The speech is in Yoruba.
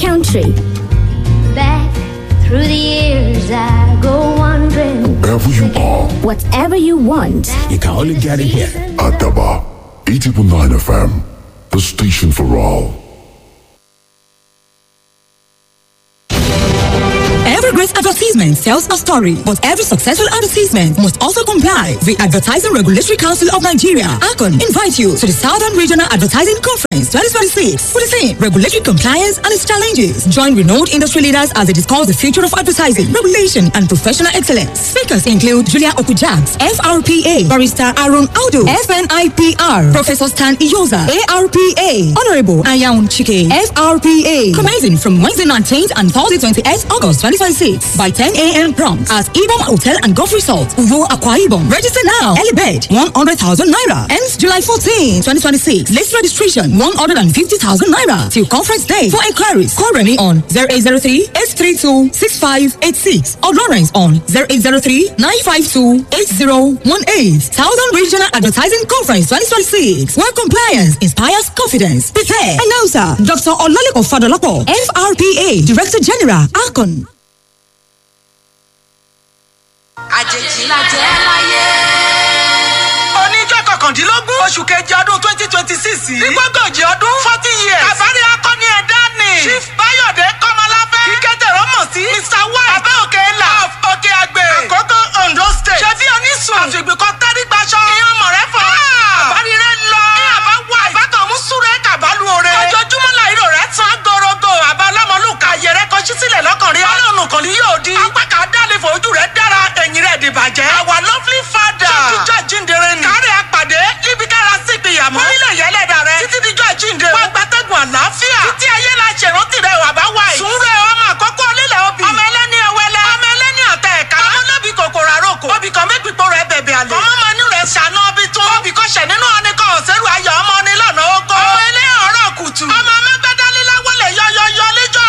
country. Back through the years, I go wandering. Wherever you are, Whatever you want, You can only get it here. Adaba, 80.9 FM, the station for all. Every great advertisement tells a story, but every successful advertisement must also comply. The Advertising Regulatory Council of Nigeria, ACON, invite you to the Southern Regional Advertising Conference 2026 for the theme Regulatory Compliance and its Challenges. Join renowned industry leaders as they discuss the future of advertising, regulation, and professional excellence. Speakers include Julia Okujaks, FRPA, Barrister Aaron Audu, FNIPR, Professor Stan Iyoza, ARPA, Honorable Ayaun Chike, FRPA. Commencing from Wednesday 19th and Thursday 28th August 2026 by 10 a.m. prompt at Ibom Hotel and Golf Resort, Uvo Akwa Ibom. Register now. Early bed 100,000 naira. Ends July 14, 2026. Late registration 150,000 naira till conference day. For inquiries, call Remy on 0803 832 6586 or Lawrence on 0803 952 8018. Southern Regional Advertising Conference 2026. Where compliance inspires confidence. Prepare. Announcer Dr. Olalekan Fadolapo, FRPA Director General, ACON. Àjèjì la jẹ́ láyé. Oníjọ́ 19 oṣù kejì ọdún 2026 yìí. Nígbàgànjì ọdún 40 years. Àbárí akọni ẹ̀dá ni. Chief Bayọ̀dé Kọ́mọláfẹ́. Kíkẹ́tẹ̀ rọ́mọ̀ sí. Mr White. Abẹ́ òkè ńlá. Of Òkè Àgbè. Àkókò Ondo State. Ṣé bí onísùn. Àfìgbìkan tẹ́rígbàṣọ. Ìyẹn ọmọ rẹ fọ. Àbárí rẹ lọ. Ní àbá wà. Àbákan mú súré kàbálù ore. Ojoojúmọ́ la ìró rẹ̀ tán gorogo. Àbá ọlọ́mọlúkà ayẹrẹ kan ṣí sílẹ̀ lọ́kànrin. Ọlọ́run kan ni yóò di. Apá kan dálé fojú rẹ̀ dára. Ẹ̀yìn rẹ̀ dìbàjẹ́. Our lovely father. Ṣé jíjọ́ ni. Kárẹ̀ àpàdé níbi kára sí ìpìyàmọ́. Orílẹ̀ yẹlẹ́dà rẹ̀. Títí díjọ́ àjíǹde. Wọ́n gbatẹ́gùn àlàáfíà. Títí ayé la ṣèrántí rẹ̀ wà bá wà yìí. Sùúrù ọmọ àkọ́kọ́ onílẹ̀ obì. Ọmọ ẹlẹ́ni ẹwẹlẹ. Ọmọ ẹlẹ́ni àtẹ ẹ̀ka. Ọmọ olóbì kòkòrò àròkò. Obì kan mẹ́pìpọ̀ rẹ̀ bẹ̀bẹ̀ àlè. Ọmọ ọmọ inú rẹ̀ ṣàná ọbí tún. Obì kan ṣẹ̀ nínú